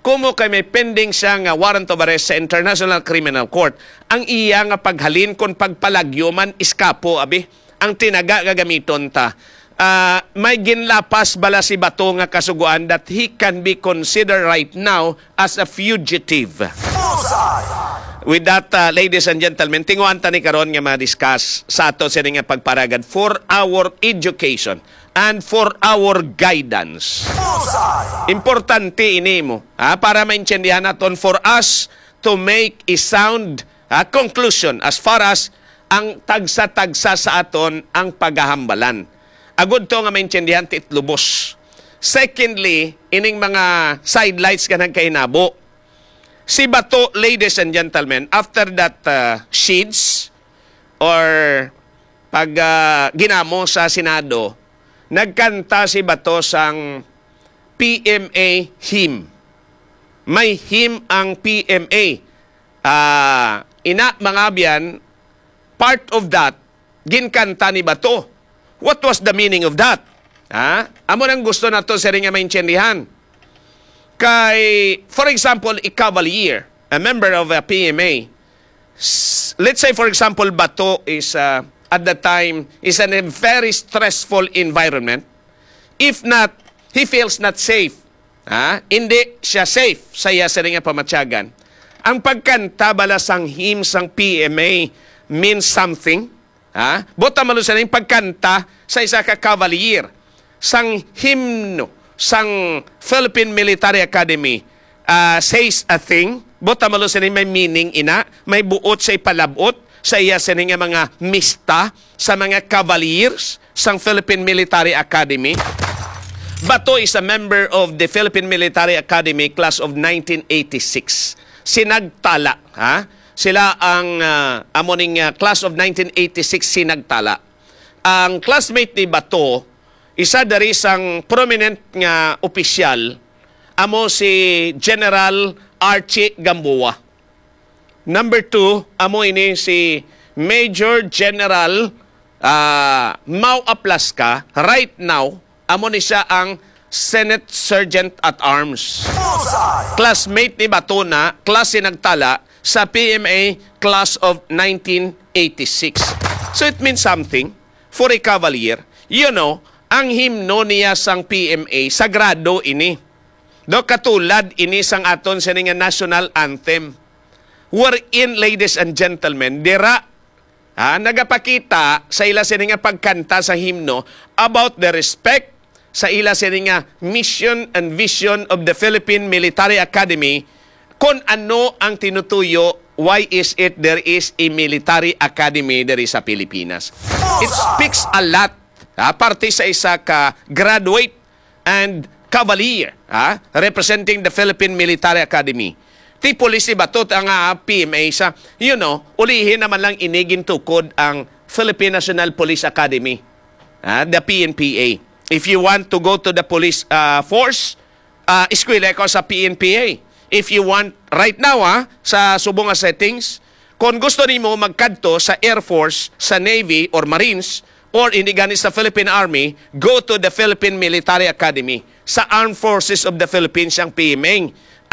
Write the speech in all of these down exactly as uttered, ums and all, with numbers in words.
Kumo kay may pending siya nga warrant of arrest sa International Criminal Court. Ang iya nga paghalin kon pagpalagyo man, iskapo, abi. Ang tinaga nga gamiton ta. Ah, may ginlapas bala si Bato nga kasugoan that he can be considered right now as a fugitive? Bullseye! With that, uh, ladies and gentlemen, tinguhan ta ni karon nga ma-discuss sa ato sini nga pagparagad for our education and for our guidance. Bullseye! Importante ini mo, ha, para maintindihan naton, for us to make a sound, ha, conclusion as far as ang tagsa-tagsa sa aton ang pagahambalan. Agud to nga maintindihan ti lubos. Secondly, ining mga sidelights nga nagkainabo. Si Bato, ladies and gentlemen, after that, uh, sheets or pag, uh, ginamo sa Senado, nagkanta si Bato sang P M A hymn. May hymn ang P M A. Ah, ina, mga abyan, part of that, ginkanta ni Bato. What was the meaning of that? Ha? Amo nang gusto nato sini nga maintindihan. Kay, for example, a cavalier, a member of a P M A, s-, let's say, for example, Bato is, uh, at the time, is in a very stressful environment. If not, he feels not safe. Ha? Hindi siya safe sa iya sini nga pamatyagan. Ang pagkanta bala sang hymn sang P M A means something. Ha? Buot silingon, pagkanta sa isa ka cavalier sang himno sang Philippine Military Academy, ah, says a thing. Buot silingon, may meaning ina, may buot sa ipalab-ot sa iya sini nga mga mista sa mga cavaliers sang Philippine Military Academy. Bato is a member of the Philippine Military Academy class of nineteen eighty-six. Sinagtala, ha? Sila ang, ah, amo ning, ah, class of nineteen eighty-six, sinagtala. Ang classmate ni Bato, isa diri sang prominent nga opisyal, amo si General Archie Gamboa. Number two, amo ini si Major General, ah, Mau Aplasca. Right now, amo ni siya ang Senate Sergeant at Arms. Bullseye! Classmate ni Bato na, klase nagtala sa P M A class of nineteen eighty-six. So it means something for a cavalier. You know, ang himno niya sang P M A, sagrado ini. Do, katulad ini sang aton sini nga national anthem. Wherein, ladies and gentlemen, dira, ha, nagapakita sa ila sini nga pagkanta sa himno about the respect sa ila sini nga mission and vision of the Philippine Military Academy, kung ano ang tinutuyo, why is it there is a military academy diri sa Pilipinas. It speaks a lot, ha, parte sa isa ka graduate and cavalier, ha, representing the Philippine Military Academy. Ti pulis ni Bato nga P M A sa, you know, ulihi naman lang ini gintukod ang Philippine National Police Academy, ha, the P N P A. If you want to go to the police, ah, force, ah, eskwela ka sa P N P A. If you want, right now, ha, sa subong nga settings, kung gusto nimo magkadto sa Air Force, sa Navy, or Marines, or hindi gani sa Philippine Army, go to the Philippine Military Academy. Sa Armed Forces of the Philippines ang P M A.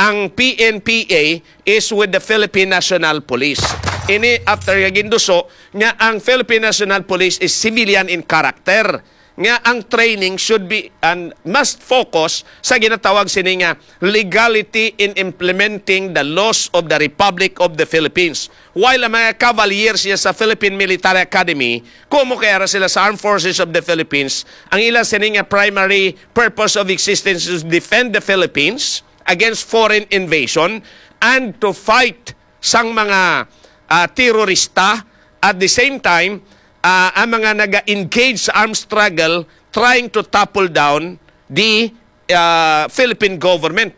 Ang P N P A is with the Philippine National Police. Ini after nga ginduso nga ang Philippine National Police is civilian in character, nga ang training should be and must focus sa ginatawag sini nga legality in implementing the laws of the Republic of the Philippines. While ang mga cavaliers niya sa Philippine Military Academy, kumo kay ara sila sa Armed Forces of the Philippines, ang ila sini nga primary purpose of existence is defend the Philippines against foreign invasion and to fight sang mga, ah, terorista. At the same time, ah, ang mga naga-engage sa armed struggle trying to topple down the, ah, Philippine government.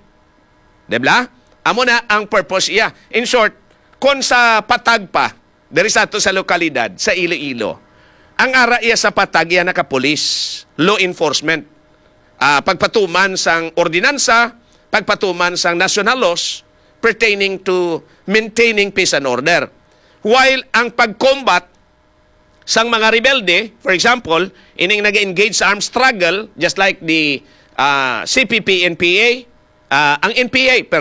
Di ba? Amo na ang purpose iya. In short, kung sa patag pa, diri sa ato sa lokalidad, sa Iloilo, ang ara iya sa patag iya nakapulis, law enforcement, ah, pagpatuman sang ordinansa, pagpatuman sang national laws pertaining to maintaining peace and order. While ang pag-combat sang mga rebelde, for example, ining nag-engage sa armed struggle, just like the, ah, C P P N P A, ah, ang N P A,